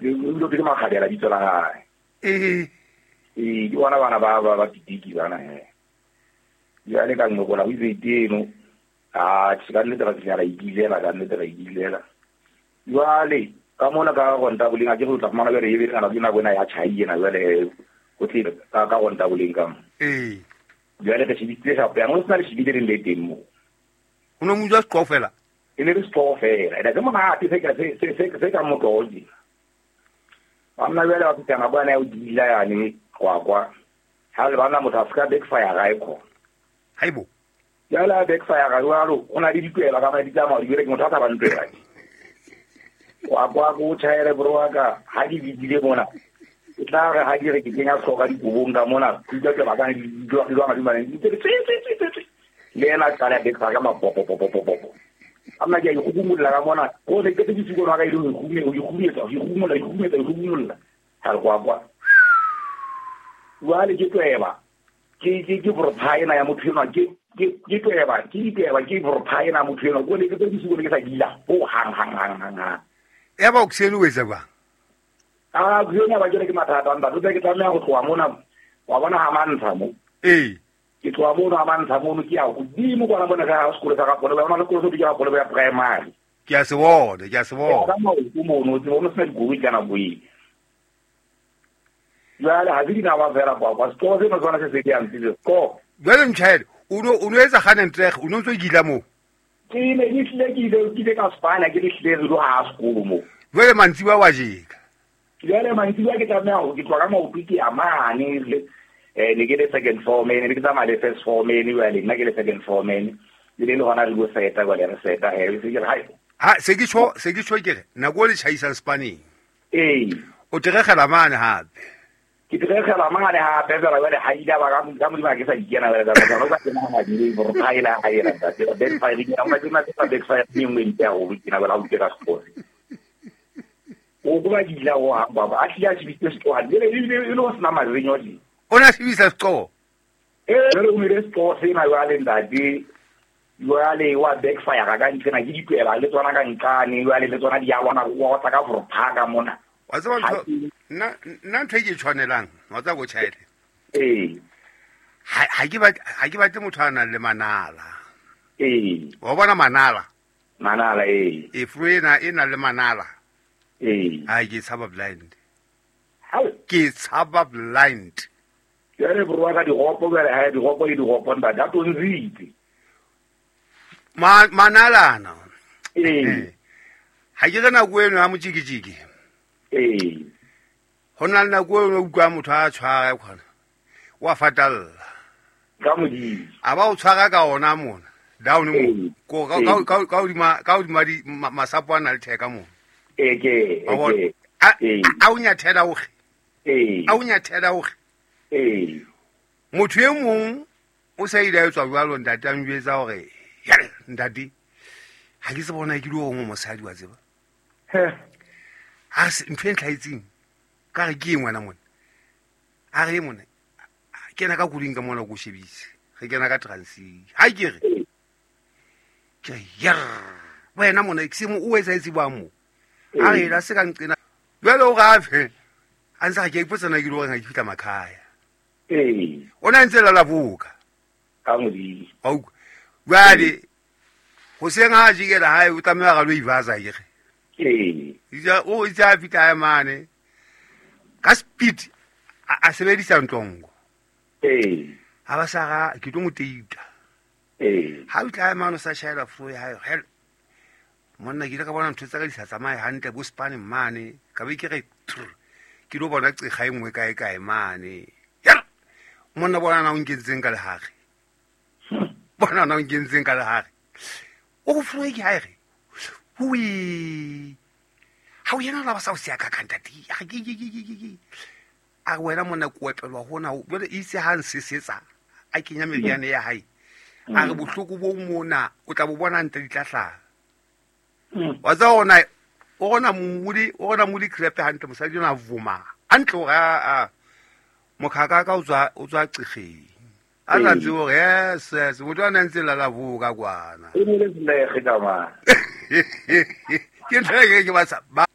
o ke makgabela bitso la hae. Ee. Ee, ke bona bana ba pitiki bana he. Jwale ka nqokola o itse eno. Ah, ka nnete ra finyana ikilela, ka nnete ra ikilela. Jwale ka mona ka ronta boleng a ke go tla fumana jwale e be ngana ke nako ena ya tjhai ena jwale go tle ka ronta boleng ka mo. Ee. Jwale re shebile shapo yang o sena le shebile le le teng mo. O no mo jwa seqo fela. E ne le seqo fela. Ene ke monate se ka motoji. Banna jwale ba fihla nako ena ya ho dila yane kwakwa. Ha le bana motho a ska backfire ga e khona. Haibo. Jwale a backfire ga jwalo, o na le ditwela ka madi tsa madi, ke motho a sa ba ntwela. Kwakwa go tjhaele bro wa ka, ha di bidile mona. E tla re ha di re ke kenya hloka dikobong ka mona, ke utlwa ke ba ka di dilo di mane. Tse. Le ena qala backfire ka mapopo. Amma ke go gumulla ka mona, go se ke tse di go ka ile go gume, go gumetsa, go gumulla, go gumetsa, go gumulla. Ha re kwakwa. Jwale ke tweba. Ke prophaena ya motho enwa, ke tweba, ke prophaena motho enwa. Go le ke tse di go ke sa dila. Ho hang. Ya ba o ksene o etsa jwang? Ah, ke ba ke mathata ntate, ke tlameha go tloha mona. Wa bona ha mantsha mo. Ee. Ke tloha mono ha mantsha mono ke ya godimo kwana bona ka sekolo sa ga Polebo, ona le sekolo se ke ya Polebo ya primary. Ke a se bona. Ka maoto mono, ke bona sena dikoloi ka nako eo. Jwale ha ke dinawa fela kwa sekolo seno sona se se ke yang tsile ko. Jwale mtjhaele, o no etsa gane ntreg, o no ntso gila mo. Ke ne ke tlile ke ile ke ka Spana ke le tlile re lo ha sekolo mo. Jwale mantsiwa wa jeka. Jwale mantsiwa ke tlameha ho ke tloha ka maoto ke ya mane le ne ke le second form, ne ke tsamaya le first form, jwale nna ke le second form, le le hona re go seta jwale re seta he se ke re hai. Ha se ke tsho ke re nako le tjhaisang Spaneng. Ee. O teregela mane hape. Ke teregela mane hape fela jwale ha ile ba ka modimo ke sa ikena jwale ka ba ka nna di le prophaela ha ela ntate backfire ke nna ke nna backfire ke nngwe ntle haholo ke na bala o kera sekolo. O go ba dila o ha ba a tlile a shebile seqo le le o sena marenyo di. O na shebisa seqo. Ee, jwale o mele seqo sena jwale ntate. Jwale wa backfire ka ntsena ke ditwela le tsona ka nqane jwale le tsona di ya lwana go tsa ka prophaka mona. Wa tseba ntho nna ntho e ke tshwanelang, wa tseba go tjhaele. Ee. Ha ke batle motho a nang le manala. Ee. Wa bona manala? Manala ee. E fru ena e nang le manala. Ee. Ha ke tshaba blind. Ke tshaba blind. Jwale bro ka diropo jwale ha diropo le diropo ntate a tonzitse. Manalana. Ee. Ha ke re nako eno ha motjikijiki. Ee. Ho na le nako eno o utlwa motho a tshwara khona. Wa fatalla. Ka modimo. A ba o tshwara ka ona mona. Down mo. Ko ka hodima di masapo a na le theka mona. Ee ke. A o nyathela o ge. Ee. A o nyathela o ge. Ee. Motho e mong o sa ile a tswa jwalo ntate a njwetsa hore yare ntate ha ke se bona ke lo ngwe mosadi wa tseba. He. Ha se ntho e ntlhaetseng ka re ke ngwana mona. A re mona ke na ka kuding ka mona go shebise. Re kena ka transi. Ha ke re. Ke yer. Wena mona ke se mo o etsa itse ba mo. A re la se ka nqena. Jwale o gafe. A ntse ke ipotsana ke lo reng ha ke fitla makhaya. Ee. O na ntse la laboka. Ka modimo. Au. Jwale go seng ha jikela hae o tlameha ga lo ibaza ke re. Ee. Itse o itse a fitla mane. Ka speed a sebedisa ntlongo. Ee. Ha ba sa ga ke tlo mo teita. Ee. Ha o tla mane o sa shaela flo ya hae. Hell. Monna ke ile ka bona ntho tsa ka di sa tsamaye hantle bo Spaneng mane. Ka be ke re ke lo bona qega e nngwe kae kae mane. Yar. Monna bona na o nkentseng ka lehare. Bona na o nkentseng ka lehare. O go flo ke hae re. Hui. Ha o yena la ba sa o sia ka ntate. A ke. A wena monna ko epelwa hona jwale itse ha nsesetsa a kenya meriana ya hae. A re bohloko bo mona o tla bo bona ntle di tla hlaha. Wa tsa ona o gona modi crepe hantle mosadi ona vuma. Hantle hore a mokhaka ka o tswa qegeng. A tla tsebo hore yes motho a ntse la la boka kwana. E ne le le ka ma. Ke ntho e ke ba